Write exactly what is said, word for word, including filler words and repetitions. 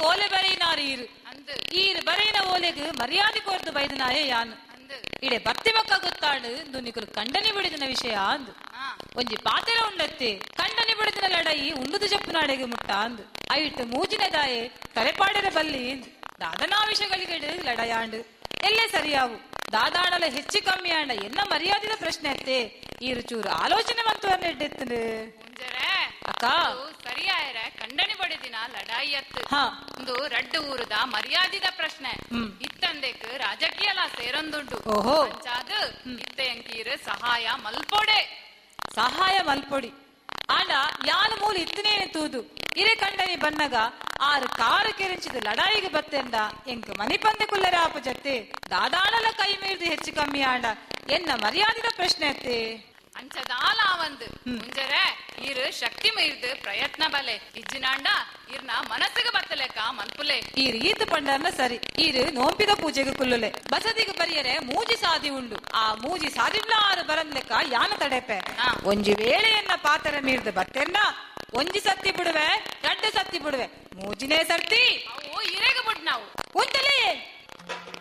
ಓಲೆ ಬರೆಯಿನಾರು ಈರು ಈರು ಬರೆಯಿನ ಓಲೆಗ್ ಮರ್ಯಾದೆ ಕೊರ್ದು ಬೈದನಾಯೇ ಯಾನು. ಇಡೆ ಬರ್ತಿ ಬಕ್ಕ ಗೊತ್ತಾಡು ಇಂದು ಕಂಡನಿ ಬಿಡಿದಿನ ವಿಷಯ ಅಂದು. ಒಂಜಿ ಪಾತೆರ ಉಂಡತ್ತೆ ಕಂಡನಿ ಬಿಡಿದಿನ ಲಡಾಯಿ ಉಂಡುದು ಜಪ್ಪುನಾಡೆಗೆ ಮುಟ್ಟ ಅಂದು. ಐಟ್ ಮೂಜಿನದಾಯೆ ತಲೆಪಾಡರ ಬಲ್ಲಿ ದಾದನಾ ವಿಷಯಗಳಿಗೆ ಲಡಾಯಾಂಡು ಎಲ್ಲೇ ಸರಿಯಾವು. ದಾದಾಣಲ ಹೆಚ್ಚು ಕಮ್ಮಿ ಆಂಡ ಎನ್ನ ಮರ್ಯಾದಿದ ಪ್ರಶ್ನೆ ಅತ್ತೆ. ಈರು ಚೂರು ಆಲೋಚನೆ ಮಂತುವರ್ನ ಎಡ್ಡೆತ್ತನು ಅಕ್ಕ. ಸರಿಯಾಯರ ಕಂಡನಿ ಬಡಿದಿನ ಲಡಾಯಿ ಅತ್ತು ಒಂದು ರಡ್ಡು ಊರುದ ಮರ್ಯಾದಿದ ಪ್ರಶ್ನೆ. ಇತ್ತಂದೆಕ್ ರಾಜಕೀಯಲ ಸೇರೊಂದುಂಡು. ಅಂಚಾದ್ ಇತ್ತೆ ಎಂಕೀರು ಸಹಾಯ ಮಲ್ಪೊಡೆ. ಸಹಾಯ ಮಲ್ಪೊಡಿ ಆಂಡ ಯಾನು ಮೂಲ ಇತ್ತನೇನೆ ತೂದು ಇರೆ ಕಂಡನಿ ಬನ್ನಗ ಆರು ಕಾರು ಕೆರಿಂಚಿದ ಲಡಾಯಿಗೆ ಬತ್ತೆಂಡ ಎಂಕ್ ಮನಿಪಂದೆ ಕುಲ್ಲರ ಆಪು ಜತ್ತೆ. ದಾದಾಣಲ ಕೈ ಮೀರ್ದು ಹೆಚ್ಚು ಕಮ್ಮಿ ಆಂಡ ಎನ್ನ ಮರ್ಯಾದಿದ ಪ್ರಶ್ನೆ ಅತ್ತೆ. ಅಂಚದಾಲ ಆವಂದು ಮುಂಜರೆ ಇರು ಶಕ್ತಿ ಮೀರ್ದು ಪ್ರಯತ್ನ ಬಲೆ ಇಜ್ಜಿನಾಂಡ ಇರ್ನ ಮನಸ್ಸಿಗೆ ಬತ್ತಲೆಕ ಮನ್ಪುಲೆ. ಈರು ಈತ ಪಂಡರ್ನ ಸರಿ. ಈರು ನೋಂಪಿದ ಪೂಜೆಗೆ ಕುಲ್ಲುಲೆ ಬಸದಿಗೆ ಬರಿಯರೆ ಮೂಜಿ ಸಾದಿ ಉಂಡು. ಆ ಮೂಜಿ ಸಾದಿಡ್ಲ ಆರು ಬರಂದ್ಲೆಕ್ಕ ಯಾನ ತಡೆಪೆ. ಒಂಜಿ ವೇಳೆಯನ್ನ ಪಾತರ ಮೀರ್ದು ಬತ್ತೆಂಡ ಒಂಜಿ ಸತ್ತಿ ಬಿಡುವೆ, ರಡ್ಡು ಸತ್ತಿ ಬಿಡುವೆ, ಮೂಜಿನೇ ಸರ್ತಿ ಇರೆಗ ಬಿಡ್ ನಾವು ಉಂಟಲೇ.